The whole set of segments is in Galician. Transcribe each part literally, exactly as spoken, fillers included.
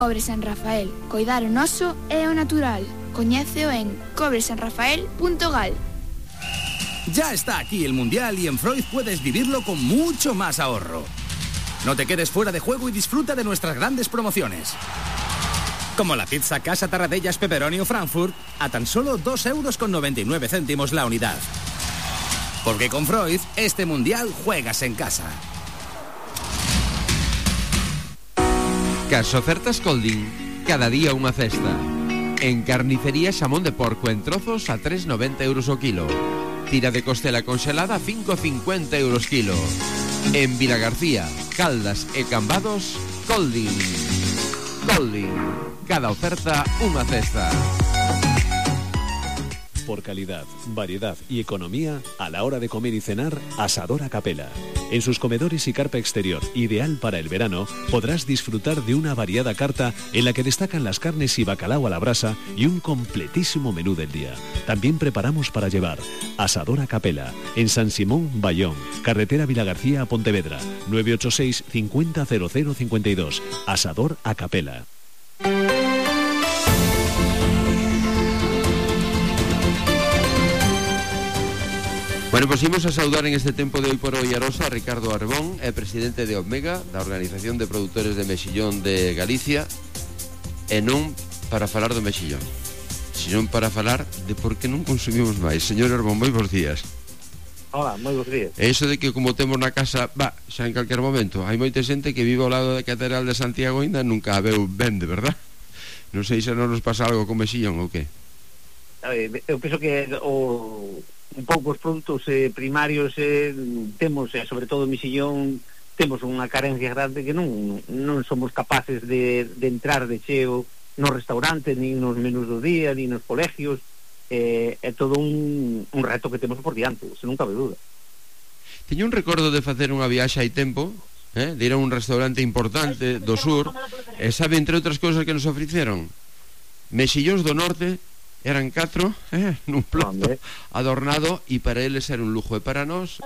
Cobre San Rafael, coidar o noso é o natural. Coñéceo en cobre san rafael punto gal. Ya está aquí el Mundial y en Freud puedes vivirlo con mucho más ahorro. No te quedes fuera de juego y disfruta de nuestras grandes promociones. Como la pizza Casa Tarradellas Pepperoni o Frankfurt a tan solo dos euros con noventa y nueve céntimos la unidad. Porque con Freud, este Mundial juegas en casa. Cas ofertas Colding, cada día unha cesta. En carnicería xamón de porco en trozos a tres noventa euros o kilo. Tira de costela congelada a cinco cincuenta euros kilo. En Vilagarcía, Caldas e Cambados, Colding. Colding, cada oferta unha cesta. Por calidad, variedad y economía, a la hora de comer y cenar, Asador a Capela. En sus comedores y carpa exterior, ideal para el verano, podrás disfrutar de una variada carta en la que destacan las carnes y bacalao a la brasa y un completísimo menú del día. También preparamos para llevar. Asador a Capela, en San Simón, Bayón, carretera Vilagarcía a Pontevedra, nueve ocho seis, cincuenta, cero cero cincuenta y dos. Asador a Capela. Bueno, pues imos a saudar en este tempo de hoy por hoy a Rosa, a Ricardo Arbón, é presidente de Omega, da Organización de Produtores de Mexillón de Galicia, e non para falar do mexillón, sino para falar de por que non consumimos máis. Señor Arbón, moi bons días. Hola, moi bons días. E iso de que como temos na casa, va, xa en calquer momento, hai moita xente que vive ao lado da Catedral de Santiago e ainda nunca a veu ben, de verdad? Non sei se non nos pasa algo con mexillón ou que? A ver, eu penso que o... un pouco os produtos eh, primarios eh, temos, eh, sobre todo o mexillón, temos unha carencia grande que non, non somos capaces de, de entrar de cheo nos restaurantes, nin nos menús do día, nin nos colegios. Eh, é todo un, un reto que temos por diante, se non cabe duda. Teño un recordo de facer unha viaxe hai tempo, eh, de ir a un restaurante importante do sur, e sabe, entre outras cousas que nos ofreceron mexillóns do norte. Eran catro, eh, nun plato adornado, e para eles era un lujo, e para nós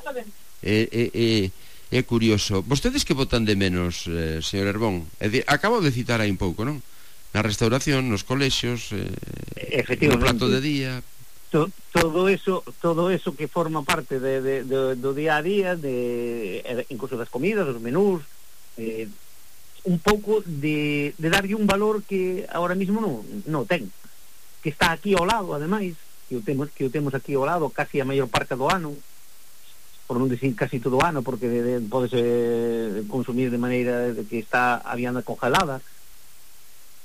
é, é, é, é curioso. Vostedes que botan de menos, eh, señor Herbón? É de, acabo de citar aí un pouco, non? Na restauración, nos colexios, eh, no plato de día. To, todo eso todo eso que forma parte de, de, de, do día a día, de, incluso das comidas, dos menús, eh, un pouco de, de darlle un valor que ahora mismo non, non ten, que está aquí ao lado, ademais, que o temos, que o temos aquí ao lado casi a maior parte do ano, por non dicir casi todo o ano, porque de, de, podese consumir de maneira de que está a vianda congelada.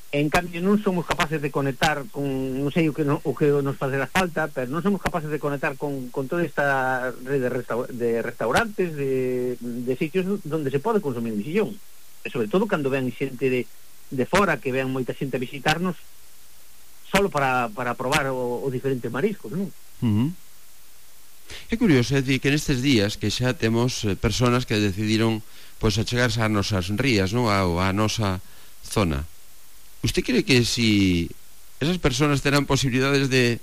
En cambio, non somos capaces de conectar con, non sei o que, no, o que nos facerá falta, pero non somos capaces de conectar con, con toda esta red de, resta, de restaurantes, de, de sitios donde se pode consumir mexillón. E sobre todo cando ven xente de, de fora, que ven moita xente a visitarnos, solo para, para probar o, o diferentes mariscos, non? Uh-huh. É curioso, é dicir, que nestes días que xa temos eh, personas que decidiron pois achegarse a nosas rías, non? A, a nosa zona. Usted cree que si esas personas terán posibilidades de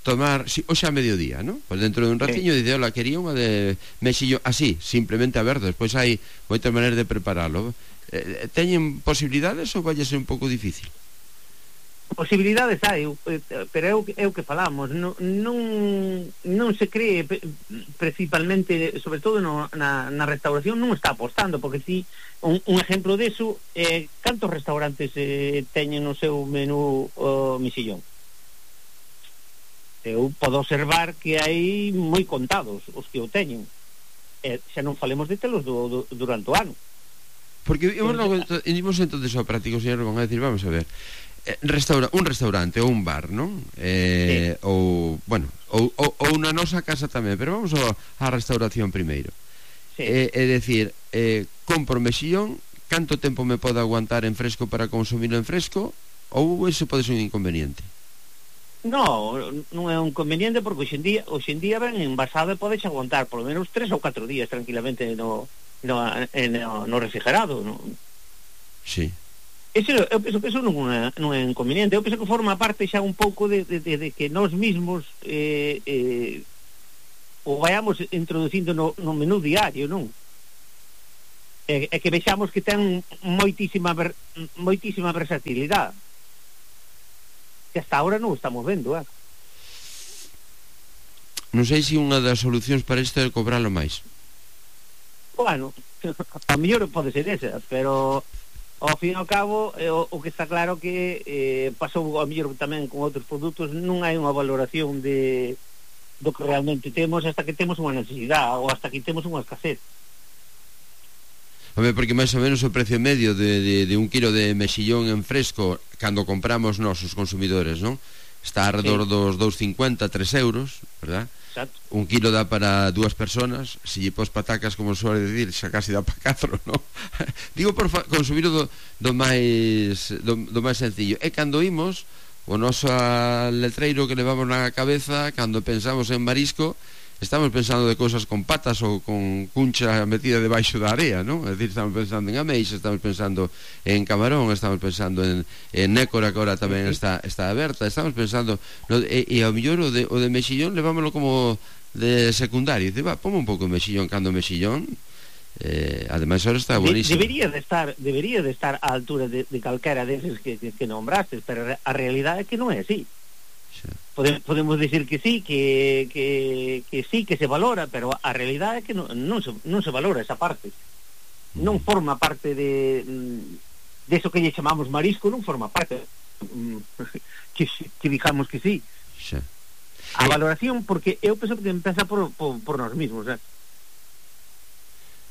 tomar, si, hoxe a mediodía, non? Pois dentro de un ratiño sí. Dice, hola, quería unha de mexillón, así, simplemente a ver, despois hai moitas maneiras de prepararlo. Eh, teñen posibilidades ou vai ser un pouco difícil? Posibilidades hai, pero é o que, é o que falamos, non, non, non se cree, principalmente, sobre todo no, na, na restauración, non está apostando, porque si un, un exemplo deso, eh, cantos restaurantes eh, teñen no seu menú o mexillón? Eu podo observar que hai moi contados os que o teñen, e xa non falemos de telos do, do, durante o ano. Porque imos, imos entonces ao práctico, señor, van a decir, vamos a ver, Restaura, un restaurante ou un bar, non? Eh, sí. Ou, bueno, ou, ou, ou na nosa casa tamén, pero vamos á restauración primeiro. Sí. É eh, decir, eh, compro mexillón, canto tempo me pode aguantar en fresco para consumirlo en fresco, ou ese pode ser un inconveniente? No, non é un inconveniente, porque hoxe en día, hoxe en día ben envasado e podes aguantar por lo menos tres ou catro días tranquilamente no, no, no, no refrigerado, non? Sí. Eso, eu penso que eso non é, non é inconveniente. Eu penso que forma parte xa un pouco de, de, de, de que nós mismos eh, eh, o vayamos introducindo no, no menú diario, non? é, é que vexamos que ten moitísima ver, moitísima versatilidade que hasta ahora non estamos vendo, eh? Non sei se unha das solucións para isto é cobralo máis. Bueno, a mellor pode ser esa, pero ao fin e ao cabo eh, o, o que está claro que eh, pasou a mellor tamén con outros produtos, non hai unha valoración de do que realmente temos hasta que temos unha necesidade ou hasta que temos unha escasez. Home, porque máis ou menos o precio medio de, de, de un kilo de mexillón en fresco cando compramos nós os consumidores, non? Está alrededor sí. dos dous cincuenta, tres euros, verdad? Exacto. Un kilo dá para dúas personas, se lle pos patacas, como suele decir, xa casi dá para catro, non? Digo por consumir do, do máis do, do máis sencillo. E cando imos, o noso letreiro que levamos na cabeza, cando pensamos en marisco, estamos pensando de cousas con patas ou con cuncha metida debaixo da area, non? É dicir, estamos pensando en ameixa, estamos pensando en camarón, estamos pensando en, en nécora, que agora tamén está, está aberta, estamos pensando no, e, e ao mellor o de, o de mexillón levámoslo como de secundario, dice, va, ponme un pouco de mexillón, cando mexillón eh, ademais ahora está buenísimo. Debería de estar debería de estar á altura de, de calquera deses que, que, que nombrastes, pero a realidade é que non é así. Podemos, podemos decir que sí, que, que, que sí, que se valora, pero a realidade é que non, non, se, non se valora esa parte. Non forma parte de de eso que lle chamamos marisco, non forma parte que, que digamos que sí. Sí. A valoración, porque eu penso que empeza por, por, por nós mismos, eh?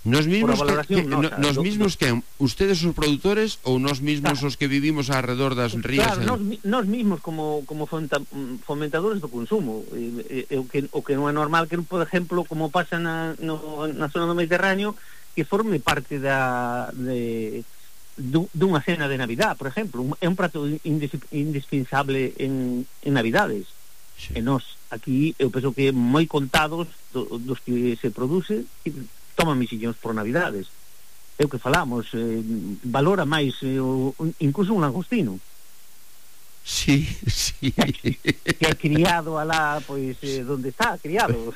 Nos mismos que, que, nosa, nos do, mismos do, que ustedes os produtores ou nos mismos claro. Os que vivimos alrededor das rías. Claro, nos, nos mismos como como fomentadores do consumo. E, e, o que o que non é normal que, por exemplo, como pasa na no, na zona do Mediterráneo, que forme parte da de dunha cena de Navidad, por exemplo, un, é un prato indispensable en en Navidades. Sí. E nós aquí eu penso que moi contados do, dos que se produce toman mexillóns por Navidades. É o que falamos, eh, valora máis eh, o, incluso un langostino. Sí, sí. Que, que é criado alá, pois, eh, donde está criado.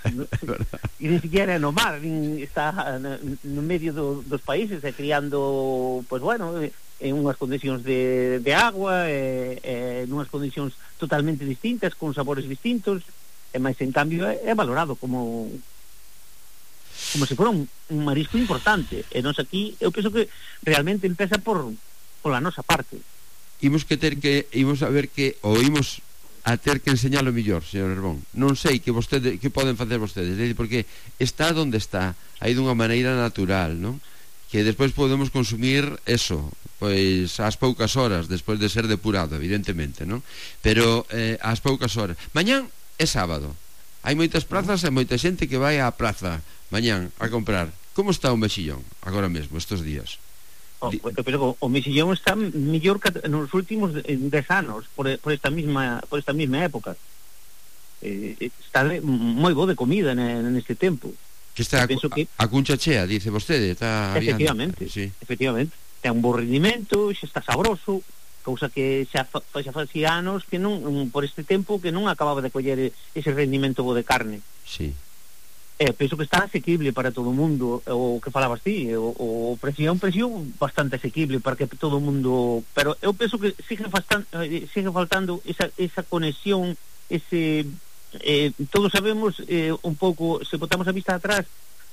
E ni siquiera no mar, nin está no medio do, dos países, é criando, pois bueno, en unhas condicións de, de agua, eh, eh, en unhas condicións totalmente distintas, con sabores distintos, e máis en cambio é, é valorado como como se fora un, un marisco importante. E nós aquí, eu penso que realmente empeza por pola nosa parte. Imos que ter que imos a ver que ou imos a ter que enseñalo mellor, señor Herbón. Non sei que vostede que poden facer vostedes, porque está onde está, aí dunha maneira natural, non? Que despois podemos consumir eso, pois ás poucas horas despois de ser depurado, evidentemente, non? Pero eh, ás poucas horas. Mañán é sábado. Hai moitas prazas e moita xente que vai á praza mañán a comprar. Como está o mexillón agora mesmo, estes días? Oh, pero o mexillón está mellor que nos últimos dez anos por, por esta mesma por esta mesma época. Eh, está moi bo de comida neste tempo. Que está a, que... a cuncha chea, dice vostede, está efectivamente, sí. efectivamente. Ten un bo rendimento, xa está sabroso, cousa que xa, xa facía anos que non, por este tempo que non acababa de coller ese rendimento bo de carne. Sí. Eh, penso que está asequible para todo o mundo, o que falabas ti, o, o precio é un precio bastante asequible para que todo o mundo, pero eu penso que sigue faltando, sigue faltando esa, esa conexión, ese eh, todos sabemos eh, un pouco, se botamos a vista atrás,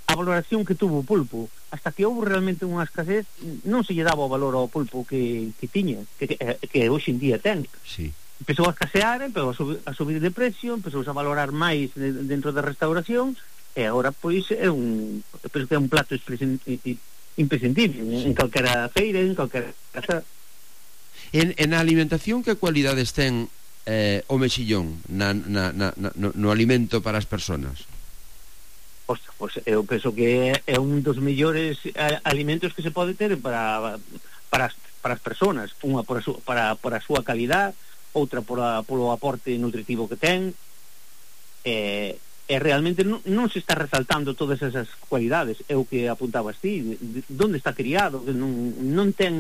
a valoración que tuvo o pulpo, hasta que houve realmente unha escasez, non se lle daba o valor ao pulpo que, que tiña, que, que, que hoxe en día ten. Sí. Empezou a escasear, empezou a subir, a subir de precio, empezou a valorar máis dentro da restauración, e agora pois é un penso que é un plato imprescindible sí. En calquera feira, en calquera casa. En, en a alimentación, que cualidades ten eh, o mexillón na, na, na, no, no alimento para as persoas? Pois, pois eu penso que é un dos mellores alimentos que se pode ter para para as, para as persoas, unha por a, su, para, por a súa calidad, outra por a, polo aporte nutritivo que ten. eh E realmente non, non se está resaltando todas esas cualidades. É o que apuntabas ti, onde está criado, que non, non ten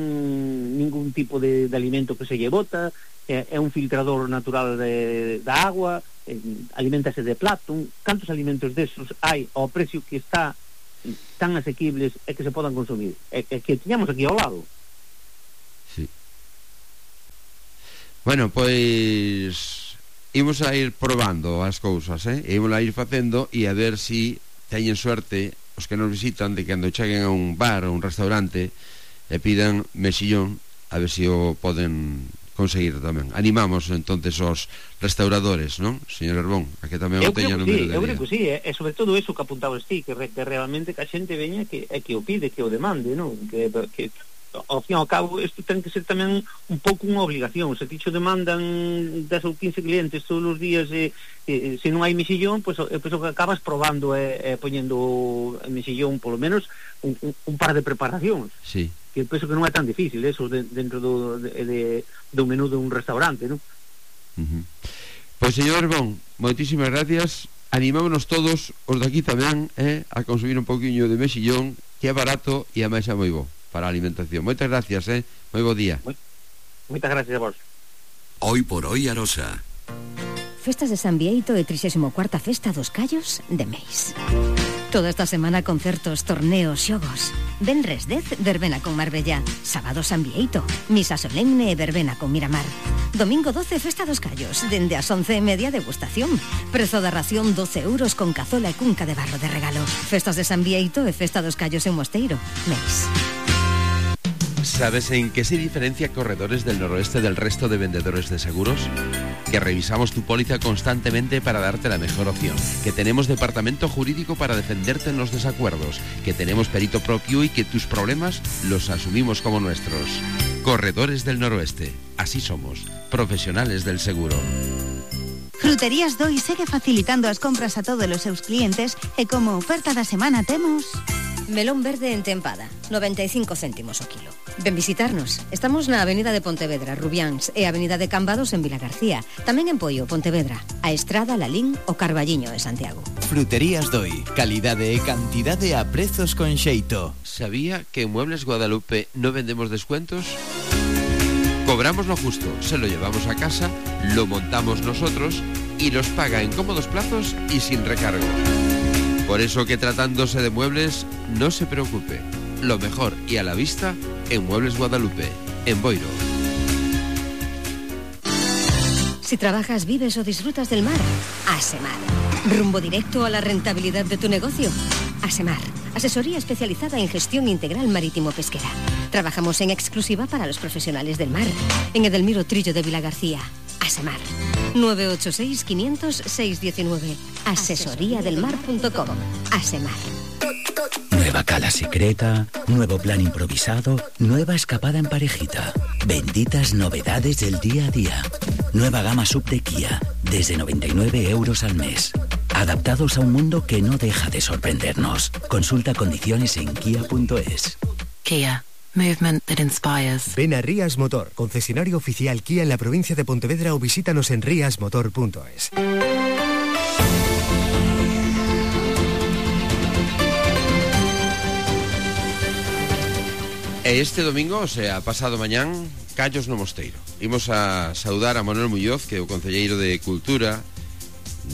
ningún tipo de, de alimento que se lle bota, é, é un filtrador natural de, da agua, eh, alimentase de plato. Cantos alimentos desos hai ao precio que está tan asequibles e que se podan consumir, e, e que tiñamos aquí ao lado. Sí. Bueno, pois imos a ir probando as cousas, eh? E imos a ir facendo e a ver si teñen suerte os que nos visitan de que cando cheguen a un bar ou un restaurante e pidan mexillón, a ver se si o poden conseguir tamén. Animamos entonces os restauradores, non, señor Herbón, a que tamén o teña no medio de eu creo que sí, eh? E sobre todo eso que apuntabas ti, que, re, que realmente que a xente veña que, é que o pide, que o demande, non? Que, que ao fin e ao cabo isto ten que ser tamén un pouco unha obligación. Se ti xo demandan dez ou quince clientes todos os días e, e se non hai mexillón, pois pues, pues, acabas probando e, e poñendo mexillón polo menos un, un, un par de preparacións. Sí. Que penso que non é tan difícil eso de, dentro do, de, de, do menú de un restaurante, non? Uh-huh. Pois señor Herbón, moitísimas gracias. Animámonos todos os daqui tamén eh, a consumir un pouquiño de mexillón, que é barato e a máis é moi bo para a alimentación. Moitas gracias, eh? Moi bo día. Moitas gracias a vos. Hoy por hoy Arosa. Festas de San Bieito e trixésimo cuarta Festa dos Callos de Meis. Toda esta semana concertos, torneos, xogos. Venres dez, verbena con Marbella. Sábado San Bieito, misa solemne e verbena con Miramar. Domingo doce, Festa dos Callos. Dende as once e media, degustación. Prezo da ración doce euros con cazola e cunca de barro de regalo. Festas de San Bieito e Festa dos Callos en Mosteiro. Meis. ¿Sabes en qué se diferencia Corredores del Noroeste del resto de vendedores de seguros? Que revisamos tu póliza constantemente para darte la mejor opción, que tenemos departamento jurídico para defenderte en los desacuerdos, que tenemos perito propio y que tus problemas los asumimos como nuestros. Corredores del Noroeste, así somos, profesionales del seguro. Fruterías Doi segue facilitando as compras a todos os seus clientes e como oferta da semana temos... Melón verde en tempada, noventa e cinco céntimos o kilo. Ven visitarnos. Estamos na Avenida de Pontevedra, Rubiáns, e Avenida de Cambados en Vilagarcía. Tamén en Poio, Pontevedra, a Estrada, Lalín o Carballiño de Santiago. Fruterías Doi, calidade e cantidade a prezos con xeito. ¿Sabía que en Muebles Guadalupe no vendemos descuentos? Cobramos lo justo, se lo llevamos a casa, lo montamos nosotros y los paga en cómodos plazos y sin recargo. Por eso que tratándose de muebles, no se preocupe. Lo mejor y a la vista en Muebles Guadalupe, en Boiro. Si trabajas, vives o disfrutas del mar, Asemar. Rumbo directo a la rentabilidad de tu negocio. Asemar, asesoría especializada en gestión integral marítimo-pesquera. Trabajamos en exclusiva para los profesionales del mar. En Edelmiro Trillo de Vilagarcía. Asemar. nueve ocho seis, quinientos, seiscientos diecinueve. asesoría del mar punto com. Asemar. Nueva cala secreta, nuevo plan improvisado, nueva escapada en parejita. Benditas novedades del día a día. Nueva gama sub de Kia, desde noventa y nueve euros al mes. Adaptados a un mundo que no deja de sorprendernos. Consulta condiciones en kia punto es. Kia. Movement that inspires. Ven a Rías Motor, concesionario oficial Kia en la provincia de Pontevedra, o visítanos en rías motor punto es. Este domingo, o sea, pasado mañán, Callos no Mosteiro. Imos a saudar a Manuel Muñoz, que é o concelleiro de Cultura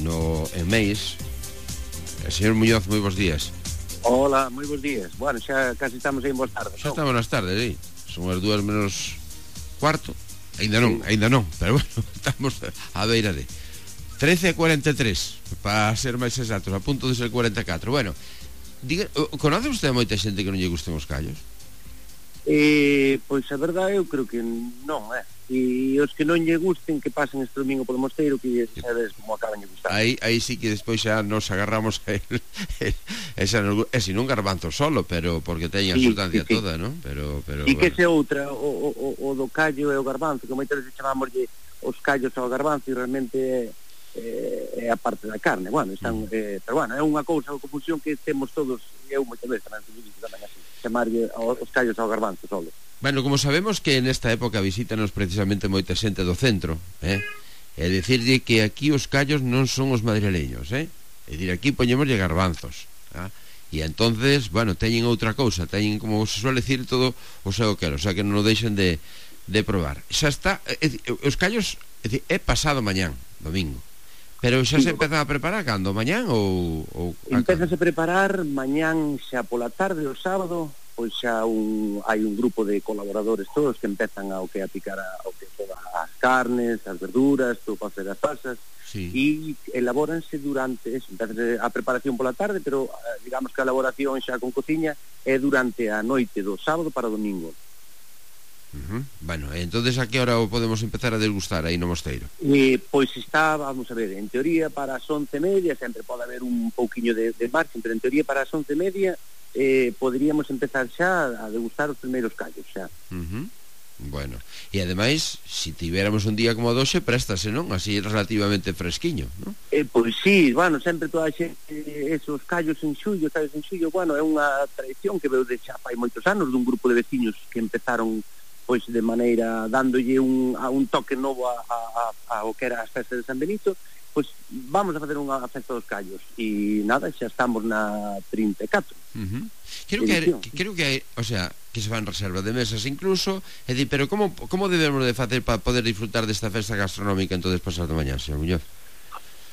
no en Meis. El señor Muñoz, moi bons días. Hola, moi bons días. Bueno, xa casi estamos aí en boas tardes. Xa estamos nas tardes, sí. Son as dúas menos cuarto. Ainda non, sí. ainda non, pero bueno, estamos a beira de trece e cuarenta e tres, para ser máis exactos, a punto de ser cuarenta e catro. Bueno, diga, conoce usted a moita xente que non lle gusten os callos? Eh, pois a verdade eu creo que non, eh. E os que non lle gusten que pasen este domingo polo Mosteiro, que sabes como acaban de gustar. Aí, aí sí que despois xa nos agarramos a él. Esa nos, é sin un garbanzo solo, pero porque teña a sí, sustancia sí, sí. toda, non? Pero, pero, e bueno. Que se outra, o, o, o do callo e o garbanzo, que moitas veces chamámoslle os callos ao garbanzo e realmente é, é, é a parte da carne. Bueno, están, mm. eh, pero bueno, é unha cousa, unha confusión que temos todos, eu moitas veces tamén, tamén así, chamarlle os callos ao garbanzo solo. Bueno, como sabemos que nesta época visítanos precisamente moita xente do centro, eh? É dicirlle que aquí os callos non son os madrileños, eh? É dicir, aquí poñémoslle garbanzos, eh? E entonces, bueno, teñen outra cousa, teñen, como se suele decir, todo o seu quero, o sea que non o deixen de, de probar. Xa está, é, os callos é, é pasado mañán, domingo, Pero xa se empezan a preparar cando? Mañán ou... ou empezas a preparar mañán xa pola tarde o sábado, pois xa un, hai un grupo de colaboradores todos que empezan a, o que a picar a, o que todas as carnes, as verduras, todo para facer as salsas, sí. E elabóranse durante eso, empezas a preparación pola tarde, pero digamos que a elaboración xa con cociña é durante a noite do sábado para o domingo. Uh-huh. Bueno, entonces a que hora o podemos empezar a degustar aí no mosteiro? Eh, pois está, vamos a ver, en teoría para as once e media, sempre pode haber un pouquiño de, de margen, pero en teoría para as once e media eh, poderíamos empezar xa a degustar os primeiros callos xa. Uh-huh. Bueno, e ademais, se si tivéramos un día como doxe, préstase, non? Así relativamente fresquiño, non? Eh, pois sí, bueno, sempre toda a xente, esos callos en xullo, callos en xullo, bueno, é unha tradición que veu de xa fai moitos anos dun grupo de veciños que empezaron pois de maneira dándolle un, a un toque novo a, a, a, a o que era as festas de San Benito, pois vamos a facer unha festa dos callos e nada, xa estamos na trinta e catro. Uh-huh. Creo que, hai, creo que hai, o sea, que se fan reserva de mesas incluso, é di, pero como como debemos de facer para poder disfrutar desta festa gastronómica entonces pasado mañá, señor Muñoz?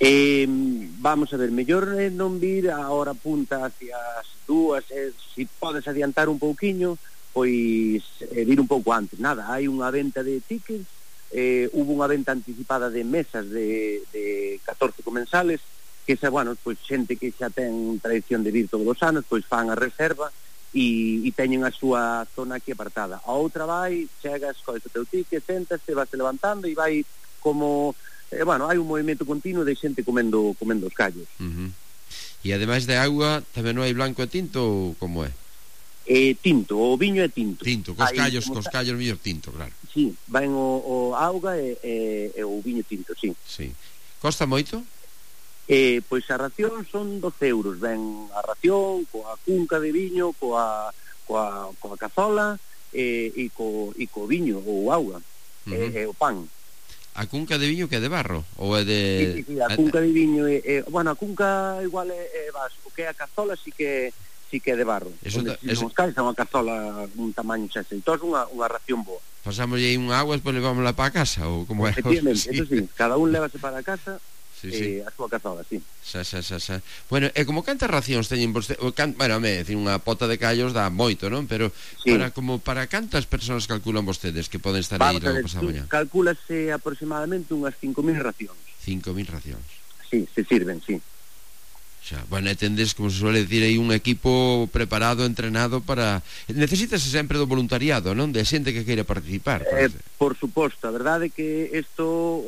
Eh, vamos a ver, mellor é non vir a hora punta hacia as dúas, eh, si podes adiantar un pouquiño, pois eh, vir un pouco antes. Nada, hai unha venta de tickets, eh, hubo unha venta anticipada de mesas de, de catorce comensales, que xa, bueno, pois xente que xa ten tradición de vir todos os anos, pois fan a reserva e, e teñen a súa zona aquí apartada. A outra vai, chegas, cois o teu ticket, sentas, te vas levantando e vai como, eh, bueno, hai un movimento continuo de xente comendo, comendo os callos. Uh-huh. E ademais de agua, tamén non hai blanco e tinto ou como é? Eh, tinto, o viño é tinto. Tinto, cos callos, cos callos mellor tinto, claro. Sí, van o, o auga e, e, e o viño tinto, sí. Sí. Costa moito? Eh, pois a ración son doce euros, ven a ración coa cunca de viño, coa coa, coa cazola e, e, co, e co viño ou auga, uh-huh. e, e o pan. A cunca de viño que é de barro? Ou é de... Sí, sí, sí, a cunca de viño é, é, bueno, a cunca igual é, é vasco, que a cazola sí que sí que é de barro. Eso onde, ta, eso... Nos cais é unha cazola un tamaño xa xeitoso, unha, unha ración boa. Pasamos aí unha agua e despois levámosla para a casa ou como é? Efectivamente, sí. Eso sí, cada un levase para a casa. Sí, sí. Eh, a súa cazola, sí. Xa, xa, xa, xa. Bueno, e como cantas racións teñen vostede? Can... Bueno, me decir, unha pota de callos dá moito, non? Pero sí. para como para cantas persoas calculan vostedes que poden estar aí logo pasado mañá? Calcúlase aproximadamente unhas cinco mil racións. cinco mil racións. Sí, se sirven, sí. Xa, bueno, entendes, como se suele decir, hai un equipo preparado, entrenado para... Necesítase sempre do voluntariado, non? De xente que queira participar. Eh, por suposto, a verdade é que isto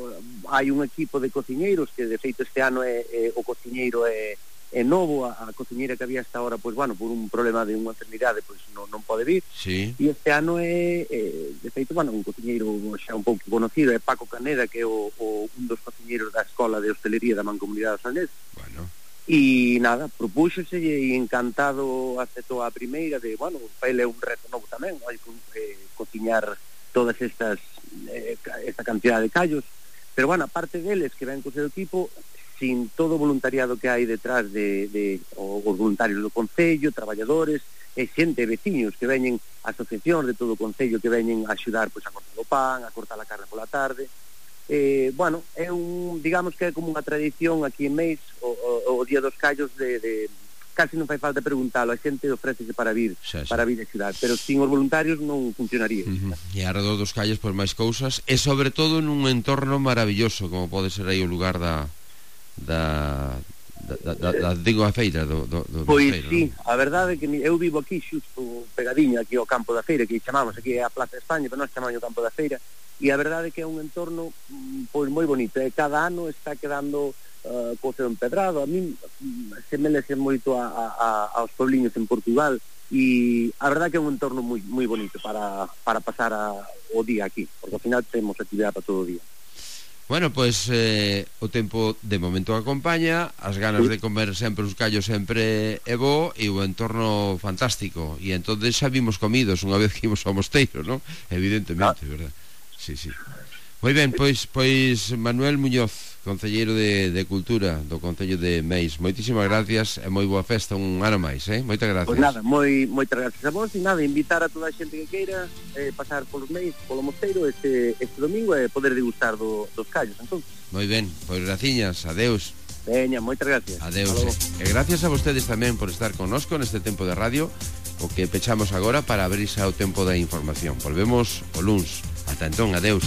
hai un equipo de cociñeiros que de feito este ano é, é o cociñeiro é, é novo, a, a cociñeira que había hasta ahora, pois bueno, por un problema de unha enfermidade, pois non, non pode vir. Sí. E este ano é, é de feito, bueno, un cociñeiro xa un pouco conocido, é Paco Caneda, que é o, o un dos cociñeiros da Escola de Hostelería da Mancomunidade do Salnés. Bueno. E nada, propúxose e encantado aceptou a primeira de, bueno, para ele é un reto novo tamén, hai que eh, cociñar todas estas eh, esta cantidad de callos, pero bueno, aparte deles que ven co seu equipo, sin todo o voluntariado que hai detrás de, de os voluntarios do Concello, traballadores e xente, veciños que veñen, asociacións de todo o Concello que veñen a axudar pois, a cortar o pan, a cortar a carne pola tarde. Eh, bueno, é un, digamos que é como unha tradición aquí en Meis, o, o, o Día dos Callos de, de casi non fai falta preguntalo, a xente ofrécese para vir, xa, xa. para vir a xudar, pero sin os voluntarios non funcionaría. Uh-huh. E alrededor dos callos por máis cousas, e sobre todo nun entorno maravilloso, como pode ser aí o lugar da da da, da, da digo a feira do, do, do pois feira, sí, non? A verdade é que eu vivo aquí xusto pegadiño aquí ao campo da feira, que chamamos aquí a Plaza de España, pero nós chamamos o campo da feira. E a verdade é que é un entorno pois moi bonito, e cada ano está quedando uh, co seu empedrado. A min semelese moito a, a, aos puebliños en Portugal, e a verdade é que é un entorno moi moi bonito para, para pasar a, o día aquí, porque ao final temos actividade para todo o día. Bueno, pois eh, o tempo de momento acompaña, as ganas sí. de comer sempre os callos sempre é bo, e o entorno fantástico, e entonces xa vimos comidos unha vez que imos ao mosteiro, non? Evidentemente, ah. verdad? Sí, sí. Moi ben, pois pois Manuel Muñoz, concelleiro de, de Cultura do Concello de Meis. Moitísimas gracias e moi boa festa un ano máis, eh? Moitas gracias. Pois nada, moi, moitas gracias a vos e nada, invitar a toda a xente que queira eh, pasar polos Meis, polo Mosteiro este, este domingo e poder degustar do, dos callos, entón. Moi ben, pois graciñas, adeus. Veña, moitas gracias. Adeus. E gracias a vostedes tamén por estar connosco neste tempo de radio, o que pechamos agora para abrirse ao tempo da información. Volvemos o luns. Ata entón, adeus.